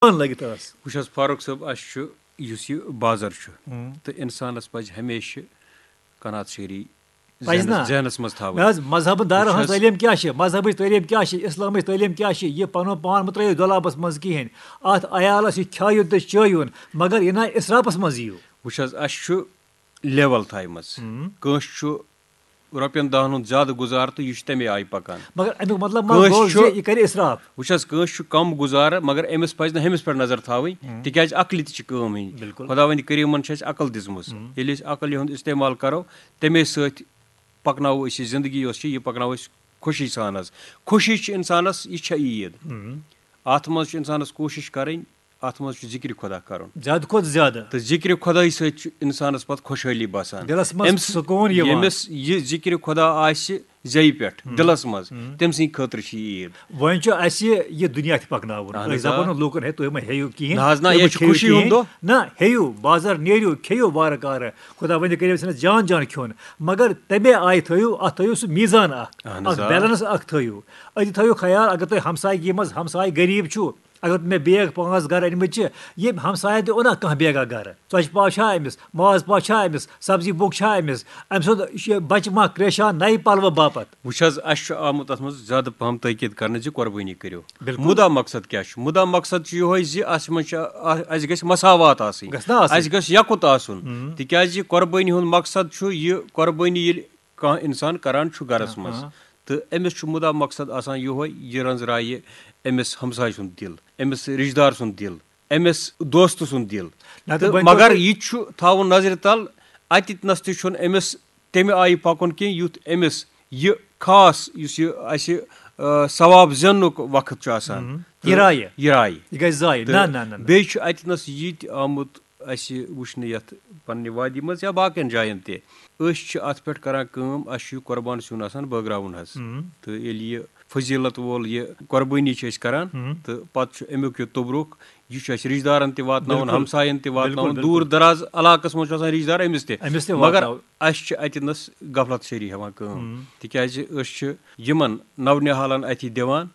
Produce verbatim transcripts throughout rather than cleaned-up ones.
پانہٕ لٲگِتھ ٲس۔ وٕچھ حظ فاروق صٲب، اَسہِ چھُ یُس یہِ بازر چھُ، ہُم۔ تہٕ اِنسانَس پَزِ ہمیشہِ قناعت شعری پَزِ ذہنَس، نا؟ ذہنَس منٛز تھاوٕنۍ۔ نہ حظ، مذہبن دارن وٕچھ ہٕنٛز حظ۔ تعلیٖم کیٛاہ چھِ؟ مذہبٕچ تعلیٖم کیٛاہ چھِ؟ اِسلامٕچ تعلیٖم کیٛاہ چھِ؟ یہِ پَنُن پان مہٕ ترٛٲیِو دۄلابَس منٛز کِہیٖنۍ۔ اَتھ عیالَس یہِ کھیٛٲیِو تہٕ چٲیِوُن، مگر یہِ نہ اِسرافَس منٛز یِیِو۔ وٕچھ حظ، اَسہِ چھُ لیول تھایمٕژ۔ ہُم۔ کٲنٛسہِ چھُ رۄپین دہن ہُنٛد زیادٕ گُزار تہٕ یہِ چھُ تَمے آیہِ پَکان۔ مگر اَمیُک مطلب ما کٲنٛسہِ گوٚو چھُ زِ یہِ کَرِ اِسراف؟ وٕچھ حظ، کٲنٛسہِ چھُ کَم گُزارٕ، مگر أمِس پَزِ نہٕ ہُمِس پٮ۪ٹھ نظر تھاوٕنۍ، ہُم۔ تِکیٛازِ عقلہِ تہِ چھِ کٲم ہیٚنۍ۔ بِلکُل۔ خۄداوندِ کریٖمن چھِ اَسہِ عقل دِژمٕژ۔ ہُم۔ ییٚلہِ أسۍ عقل ہُنٛد استعمال کَرو، تَمے سۭتۍ پَکناوو أسۍ یہِ زِندگی یۄس چھِ، یہِ پَکناوو أسۍ خوشی سان حظ۔ خوشی چھِ اِنسانَس، یہِ چھےٚ عیٖد۔ ہُم۔ اَتھ منٛز چھُ اِنسانَس کوٗشِش کَرٕنۍ، اَتھ منٛز چھُ ذِکرِ خۄدا کَرُن۔ زیادٕ کھۄتہٕ زیادٕ۔ تہٕ ذِکرِ خۄدایہِ سۭتۍ چھُ اِنسانَس پَتہٕ خۄشحٲلی باسان۔ دِلَس منٛز أمِس، سکوٗن یِوان۔ ییٚمِس یہِ ذِکرِ خۄدا آسہِ زیٚیہِ پٮ۪ٹھ، ہُم۔ دِلَس منٛز، ہُم۔ تٔمۍ سٕنٛدِ خٲطرٕ چھِ یہِ عیٖد۔ وۄنۍ چھُ اَسہِ یہِ دُنیا تہِ پَکناوُن۔ اَہَن أسۍ حظ، آ۔ دَپو نہٕ لوٗکَن، "ہے، تُہۍ مہ ہیٚیِو کِہیٖنۍ، نہ حظ، نہ، تُہۍ یہِ مہ چھُ کھیٚیِو خوشی ہُنٛد کِہیٖنۍ۔" دۄہ۔ نہ، ہیٚیِو، بازر نیرِو، کھیٚیِو وارٕ کارٕ۔ خۄداوندِ کٔرِو اَسہِ جان جان کھیوٚن۔ مگر تَمے آیہِ تھٲیِو، اَتھ تھٲیِو سُہ میٖزان اَکھ، اَہَن حظ، اَکھ آ۔ بیلنس اَکھ تھٲیِو۔ أتی تھٲیِو خیال، اگر تُہۍ ہمسایگی منٛز ہمسایہِ غریٖب چھُو، اگر مےٚ بیگ پانٛژھ گرٕ أنمٕتۍ چھِ، ییٚمۍ ہمسایَن تہِ اوٚنا کانٛہہ بیگا گرٕ، ژۄچہِ پاو چھا أمِس، ماز پاو چھا أمِس، سبزی بوٚک چھا أمِس، أمۍ سُنٛد یہِ بچہِ ما کرٛیشان نَیہِ پلوٕ باپتھ؟ وٕچھ حظ، اَسہِ چھُ آمُت اَتھ منٛز زیادٕ پہم تٲکید کرنہٕ زِ قۄربٲنی کٔرِو۔ بِلکُل۔ مُدا مقصد کیٛاہ چھُ؟ مُدا مقصد چھُ یِہوٚے زِ اَتھ منٛز چھِ، اَ-، اَسہِ گژھِ مساوات آسٕنۍ۔ گژھِ نا آسٕنۍ؟ اَسہِ گژھِ یَکُت آسُن۔ ہُم۔ تِکیٛازِ قۄربٲنی ہُنٛد مقصد چھُ یہِ، قۄربٲنی ییٚلہِ کانٛہہ اِنسان کران چھُ گرس آ، منٛز، آ۔ تہٕ أمِس چھُ مُدا مقصد آسان یِہوٚے، یہِ رٔنٛزراوِ أمِس ہمسایہِ سُنٛد دِل، أمِس رِشتہٕ دار سُنٛد دِل، أمِس دوستہٕ سُنٛد دِل۔ نہ تہٕ تہٕ وۄنۍ مگر توٚر یہِ چھُ تھاوُن نظرِ تل، اَتہِ نَس تہِ چھُنہٕ أمِس تَمہِ آیہِ پَکُن کینٛہہ، یُتھ أمِس یہِ خاص، یُس یہِ اَسہِ، آ، ثواب زیننُک وقت چھُ آسان، ہُم۔ تہٕ یہِ رایہِ۔ یہِ رایہِ۔ یہِ گژھِ ضایع۔ تہٕ نہ، نہ، نہ، نہ۔ بیٚیہِ چھُ اَتہِ نَس یہِ تہِ آمُت اَسہِ وٕچھنہٕ یَتھ پننہِ وادی منٛز یا باقین جاین تہِ، أسۍ چھِ اَتھ پٮ۪ٹھ کران کٲم، اَسہِ چھُ یہِ قۄربان سیُن آسان بٲگراوُن حظ۔ ہُم۔ تہٕ ییٚلہِ یہِ فضیلت وول یہِ قۄربٲنی چھِ أسۍ کران، ہُم۔ تہٕ پتہٕ چھُ اَمیُک یہِ توٚبرُک، یہِ چھُ اَسہِ رِشتہٕ دارن تہِ واتناوُن، بِلکُل۔ ہمساین تہِ بِلکُل، واتناوُن، بِلکُل۔ دوٗر دراز علاقس منٛز چھُ آسان رِشتہٕ دار أمِس تہِ۔ أمِس تہِ مگر واتناوُن۔ اَسہِ چھِ اَتہِ نَس غفلت شیری ہٮ۪وان کٲم، ہُم۔ تِکیازِ أسۍ چھِ یِمن نونِہالن اَتھِ دِوان،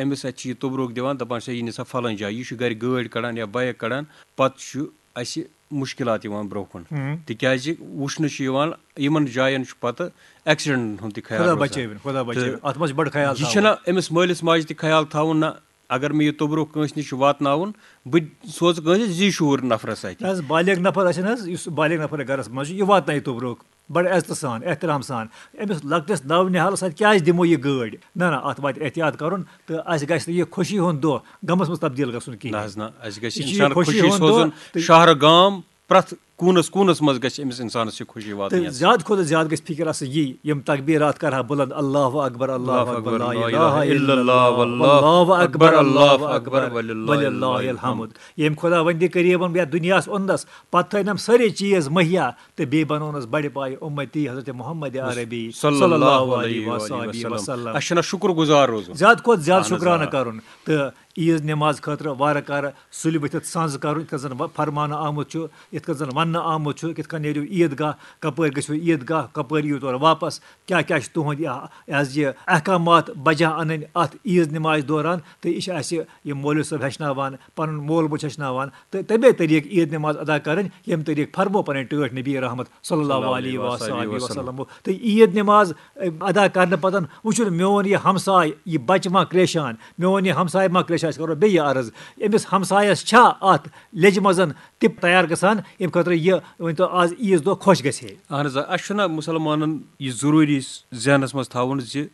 أمِس اَتہِ چھِ یہِ توٚبرُک دِوان، دَپان چھِ، "یہِ نِسا فلٲنۍ جایہِ، یہِ چھُ گَرِ گٲڑۍ کَڑان یا بایِک کَڑان۔" پَتہٕ چھُ اَسہِ مُشکِلات یِوان برٛونٛہہ کُن۔ ہُم۔ تِکیٛازِ وٕچھنہٕ چھُ یِوان، یِمَن جایَن چھُ پَتہٕ ایکسیڈنٹَن ہُنٛد تہِ خیال خۄدا روزان۔ بچٲوِن، خۄدا بچٲوِن۔ تہٕ اَتھ منٛز چھُ بَڑٕ خیال یہِ تھاوُن۔ چھُنہ أمِس مٲلِس ماجہِ تہِ خیال تھاوُن نہ، اگر مےٚ یہِ توٚبرُک کٲنٛسہِ نِش چھُ واتناوُن، بہٕ سوزٕ کٲنٛسہِ ذی شعوٗر نفرَس اَتھِ۔ نہ حظ، بالغ نفر آسہِ نہ حظ، یُس بالغ نفر گَرَس منٛز چھُ، یہِ واتنایہِ توٚبرُک۔ بڑٕ عزتہٕ سان، احترام سان۔ أمِس لۄکٹِس نو نِہالَس اَتھِ کیٛازِ دِمو یہِ گٲڑۍ؟ نہ، نہ، اَتھ واتہِ احتیاط کَرُن تہٕ اَسہِ گژھِ نہٕ یہِ خوشی ہُنٛد دۄہ غمَس منٛز تبدیٖل گژھُن کِہیٖنۍ۔ نہ حظ نہ، اَسہِ گژھِ یہِ چھُ یہِ اِنسان خوشی خوشی ہُنٛد دۄہ سوزُن تہٕ شہرٕ گام، پرٛٮ۪تھ کوٗنَس کوٗنَس منٛز گژھِ أمِس اِنسانَس یہِ خوشی واتٕنۍ تہٕ حظ۔ زیادٕ کھۄتہٕ زیادٕ گژھِ فِکِر آسٕنۍ یی، یِم تکبیٖرات کَرٕ ہا بُلنٛد، اللہ اکبر، اللہ اکبر، لا الہ الا اللہ، واللہ اکبر، اللہ اکبر، وللہ الحمد۔ ییٚمۍ خۄداوندِ کریٖمَن یَتھ دُنیاہَس اوٚننَس، پَتہٕ تھٲینَم سٲری چیٖز مہیا، تہٕ بیٚیہِ بنوونَس بڑِ پایہِ اُمتی حضرت محمد عربی صلی اللہ علیہ وآلہ وسلم۔ اَسہِ چھُنہ شُکر گُزار روزُن۔ زیادٕ کھۄتہٕ زیادٕ اہن حظ، شُکرانہٕ آ۔ کَرُن۔ تہٕ عیٖد نٮ۪ماز خٲطرٕ وارٕ کارٕ سُلہِ ؤتھِتھ سَنٛز کَرُن، یِتھ کٔنۍ زَن وَ-، فرماونہٕ آمُت چھُ، یِتھ کٔنۍ زَن وَننہٕ آمُت چھُ، کِتھ کٔنۍ نیرِو عیٖد گاہ، کَپٲرۍ گٔژھِو عیٖد گاہ، کَپٲرۍ یِیِو تورٕ واپَس، کیٛاہ کیٛاہ چھِ تُہُنٛد یہِ، یہِ حظ یہِ احکامات بجا اَنٕنۍ اَتھ عیٖد نٮ۪مازِ دوران۔ تہٕ یہِ چھِ اَسہِ یہِ مولوی صٲب ہیٚچھناوان، پَنُن مول موج ہیٚچھناوان تہٕ تَمے طریٖقہٕ عیٖد نٮ۪ماز ادا کَرٕنۍ، ییٚمہِ طریٖقہٕ فرمو پَنٕنۍ ٹٲٹھۍ نبی رحمت صلی اللہ علیہ وآلہ وسلم۔ تہٕ عیٖد نٮ۪ماز، اے، ادا کَرنہٕ پَتہٕ وٕچھُن میون یہِ ہمساے، یہِ بَچہٕ ما کرٛیشان، میون یہِ ہمساے ما کرٛیشان، أسۍ کَرو بیٚیہِ یہِ عرض، أمِس ہمسایَس چھا اَتھ لیٚجہِ منٛز تہِ تیار گژھان، ییٚمہِ خٲطرٕ یہِ ؤنۍ تو آز عیٖذ دۄہ خۄش گژھِ ہے؟ اہن حظ، آ، اَسہِ چھُنہ مُسلمانَن یہِ ضروٗری ذہنَس منٛز تھاوُن زِ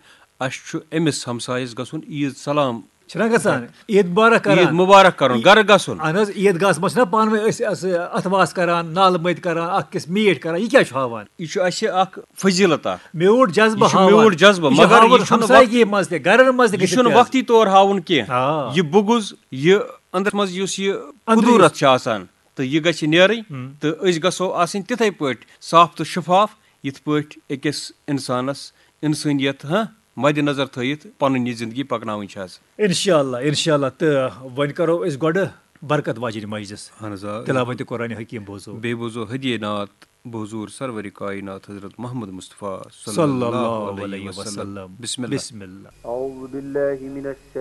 اَسہِ چھُ أمِس ہمسایَس گژھُن عیٖد سلام چھِنہ گژھان؟ عیٖد مُبارک کران۔ عیٖد مُبارک کرُن، گرٕ گژھُن۔ اہن حظ، عیٖد گاہَس منٛز چھِنہ پانہٕ ؤنۍ أسۍ، أسۍ اَتھٕ واس کران، نالہٕ مٔتۍ کران، اکھ أکِس میٖٹھۍ کران، یہِ کیٛاہ چھُ ہاوان؟ یہِ چھُ اَسہِ اکھ فضیٖلت اکھ۔ میوٗٹھ جذبہٕ یہِ چھُ ہاوان۔ میوٗٹھ جذبہٕ، یہِ چھُ مگر ہاوُن یہِ چھُنہٕ ہمسایگی وقتی، منٛز تہِ، گرن منٛز تہِ یہِ گٔژھِتھ چھُنہٕ تہِ حظ۔ وقتی طور ہاوُن کینٛہہ۔ آ۔ یہِ بُغض، یہِ أنٛدرَس منٛز یُس یہِ أنٛدری کُدوٗرَتھ چھُ آسان، تہٕ یہِ گژھِ نیرٕنۍ، ہُم۔ تہٕ أسۍ گژھو آسٕنۍ تِتھَے پٲٹھۍ صاف تہٕ شفاف، یِتھ پٲٹھۍ أکِس اِنسانَس اِنسٲنیت، ہاں، مدِ نظر تھٲیِتھ پنٕنۍ یہِ زندگی پکناوٕنۍ چھِ حظ۔ انشاءاللہ، انشاءاللہ۔ تہٕ وۄنۍ کرو أسۍ گۄڈٕ برکت واجنہِ مجلس۔ اہن حظ، آ۔ تلاوت قرآن حکیم بوزو۔ بیٚیہِ بوزو ہدیہ نعت بحضور سرور کائنات حضرت محمد مصطفیٰ صلی اللہ علیہ وسلم۔ بسم اللہ۔ بسم اللہ۔ أعوذ بالله من الشيطان